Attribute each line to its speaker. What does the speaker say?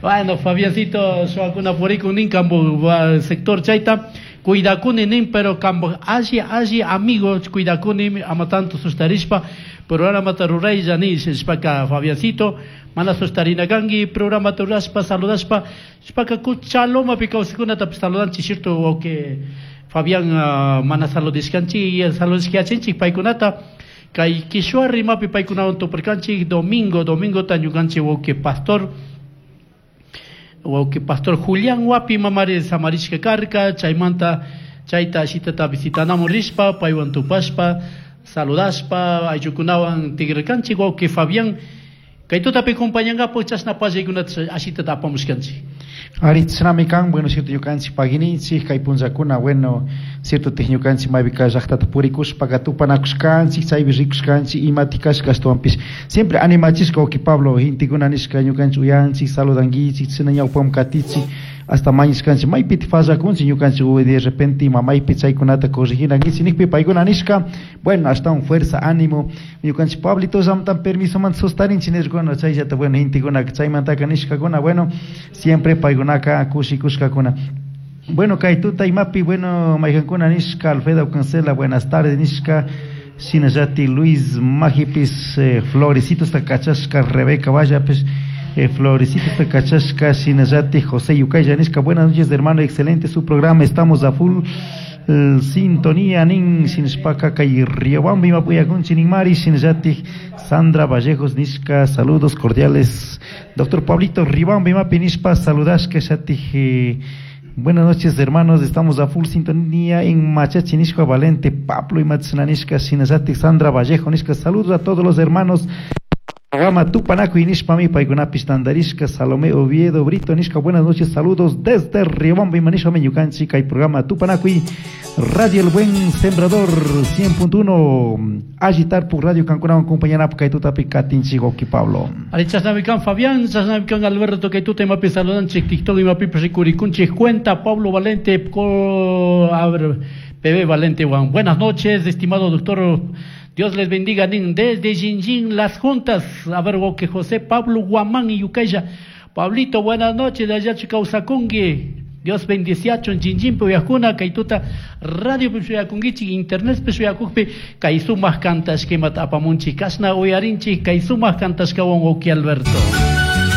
Speaker 1: Bueno, Fabiancito, shuwakuna purikun nin kambu sector chayta cuidakuni nin, pero kambu alli alli amigo cuidakuni ama tanto sustarishpa programata ruraylla nishpaka Fabiancito mana sustarina kanki programata rurashpa saludashpa shpaka kuchalomapi kawsaykunatapish saludanchik cierto wawqi Fabián mana saludishkanchik saludishkayachinchik paykunata kay Quechua rimapi paykunawan tupurkanchik domingo domingota ñukanchik wawqi pastor wawqi pastor Julián Wapi mamari samarishka karka chaymanta chayta ashitata visitanamun rishpa paywan tupashpa saludashpa ayllukunawan tigrarkanchik wawqi Fabián kay tutapi compañankapak chashna pallaykunata ashitata apamushkanchik.
Speaker 2: Ari chashnami kan, bueno, cierto, ñukanchik pagininchik, kay punllakuna, bueno, cierto, tik ñukanchik maypika llaqtata purikushpaka tupanakushkanchik, chaypi rikushkanchik, imati kashka ashtawanpish siempre animachishka wawqi Pablo, gentekuna nishka ñukanchik uyanchik, saludankichik, chashna ñawpaman katichik, hasta mañashkanchik maypiti fallakunchik ñukanchik de repente ima maypi chaykunata corriginankichik nikpi paykuna nishka, bueno, ashtawan fuerza, ánimo, ñukanchik Pablito llamtan permisomanta sustarinchik nirkuna, chayllata, bueno, gentekunaka chaymantaka nishkakuna, bueno, siempre paykunaka kushikushkakuna. Bueno, kay tuta imapi, bueno, mayqankuna nishka, Alfredo Cancela, buenas tardes nishka, shinallati Luis Majipis, florecitos kachashka, Rebeca Vallapis, florecitos kachashka, shinallati José Yucaya nishka, buenas noches hermano, excelente su programa, estamos a full sintonía nin, shinashpaka kay Riobamba imapuyakunchi nin mari, shinallati Sandra Vallejos nishka, saludos cordiales, doctor Pablito Riobamba imapi nishpa, saludashka shati, buenas noches hermanos, estamos a full sintonía en Machachi nishka, Valente Pablo y Matsananishka, shinallati Sandra Vallejo nishka, saludos a todos los hermanos. Programa Tupanakuy nishpami paykunapish tandarishka, Salomé Oviedo Brito nishka, buenas noches, saludos desde Riobamba y manishpami ñukanchik kay programa Tupanakuy, Radio El Buen Sembrador 100.1, Agitar por Radio Kankunawan compañera kay tutapi katinchik wawqi Pablo.
Speaker 1: Ari chashnamikan Fabián, chashnamikan Alberto kay tuta imapi saludanchik TikTok imapi rikurikunchik cuenta Pablo Valente, a ver, PB Valente Juan. Buenas noches, estimado doctor. Dios les bendiga, nin, desde Jinjin, las juntas. A ver, que José Pablo Guamán y Yucaya. Pablito, buenas noches, de allá Chicausacungui. Dios bendiciachon, Jinjin, Puyacuna, Kaituta, Radio Puyacunguichi, Internet Puyacujpi, Kaisumas Cantas, Kemat Apamunchi, Kasna Uyarinchi, Kaisumas Cantas, Kawan, Oki Alberto.